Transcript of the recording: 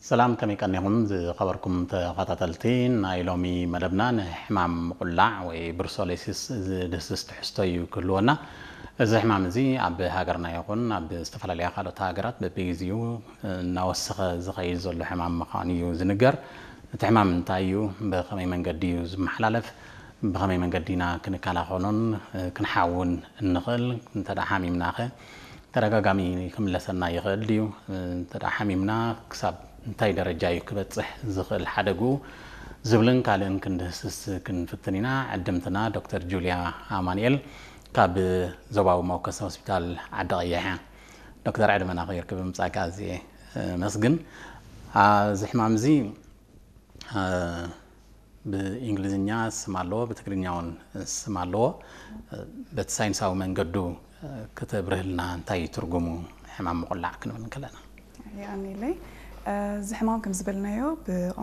ሰላም፣ ከመይ ቀኒኹም ዝኸበርኩም ተኸታተልቲ ናይ ሎሚ መደብና? ንሕማም ምቑላዕ ወይ ብሩሰሎሲስ ዝድህስስ ትሕዝቶ እዩ ክህልወና። እዚ ሕማም እዚ ኣብ ሃገርና ይኹን ኣብ ዝተፈላለያ ካልኦት ሃገራት በብግዜኡ እናወሰኸ ዝኸይድ ዘሎ ሕማም ምዃኑ እዩ ዝንገር። እቲ ሕማም እንታይ እዩ? ብኸመይ መንገዲ እዩ ዝመሓላለፍ? ብኸመይ መንገዲ ኢና ክንከላኸሎን ክንሓውን እንኽእል? እንተ ደኣ ሓሚምናኸ ተደጋጋሚ ክምለሰና ይኽእል ድዩ? እንተ ደኣ ሓሚምና ክሳብ እንታይ ደረጃ እዩ ክበጽሕ ዝኽእል ሓደግኡ? ዝብልን ካልእን ክንድህስስ ክንፍትን ኢና። ዕድምትና ዶክተር ጁልያ ኣማኑኤል ካብ ዞባዊ መወከሲ ሆስፒታል ዓዲ ቀይሕ እያ። ዶክተር፣ ዕድመና ከይርክብ ምጻእካ ኣዝየ መስግን። እዚ ሕማም እዚ ብእንግሊዝኛ ስም ኣለዎ፣ ብትግርኛ እውን ስም ኣለዎ። በቲ ሳይንሳዊ መንገዱ ከተብርህልና እንታይ እዩ ትርጉሙ ሕማም ምቑላዕ ክንብል እንከለና? የቐንየለይ። እዚ ሕማም ከም ዝበልናዮ ብቋንቋ